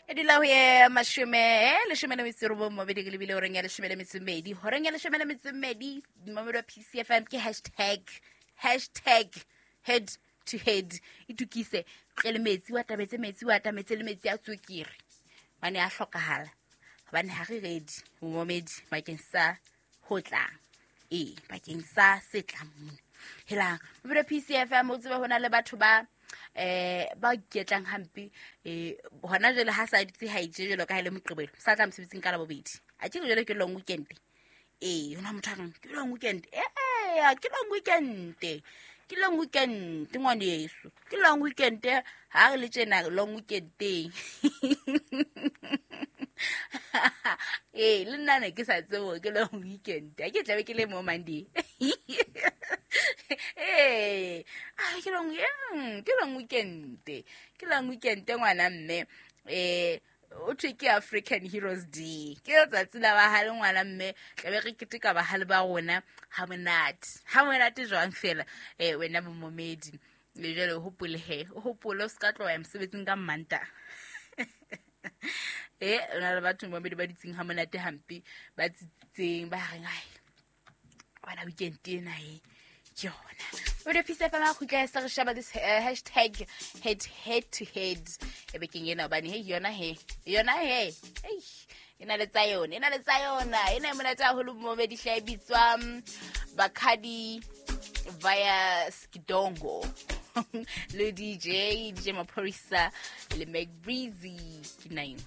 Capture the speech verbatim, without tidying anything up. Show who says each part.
Speaker 1: E dula ho ye mashome leshome le metso e robong mobedi ke lebile horeng ya leshome le metso e mmedi. Horeng ya leshome le metso e mmedi momedi wa P C F M ke hashtag hashtag head to head. Itukise tle le metsi wa tabetse metsi wa tametse le metsi a tswekere. Bane a hlokahala. Hobane ha re ready momedi bakeng sa ho tla. E bakeng sa se tlang mona. Helang momedi wa P C F M o tsebe hona le batho ba eh ba iketlang hampe eh hona jwale ha sa ditse ha itse jwalo ka ha ile Moqebelo sa tla mosebetsing ka Labobedi a ke jwale ke long weekend eh hona motho a reng ke long weekend eh ke long weekend ke long weekend ngwaneso ke long weekend ha re le tjena long weekend teng eh le nna ne ke sa tsebo ke long weekend a ke tlabe ke le mo Monday eh ah ke long ke long weekend ke long weekend ngwana mme eh o thwe ke African Heroes Day ke letsatsi la bahale ngwana mme tlabe re keteka bahale ba rona ha monate ha monate jwang fela eh wena momomedi le jwale o hopole he o hopole o ska tloha mosebetsing ka Manta eh ona le batho momedi ba ditseng ha monate hampe ba tsitseng ba reng ai bana weekend ena e ke yona o re P C F M khutla sa re shaba this uh, hashtag head head to head e bekeng ena hobane he yona he yona he ei ena le tsa yona ena le tsa yona ena e monate haholo momedi hle e bitswa Bakhadi via Skidongo le D J D J Maphorisa le Mac Breezy ke nine.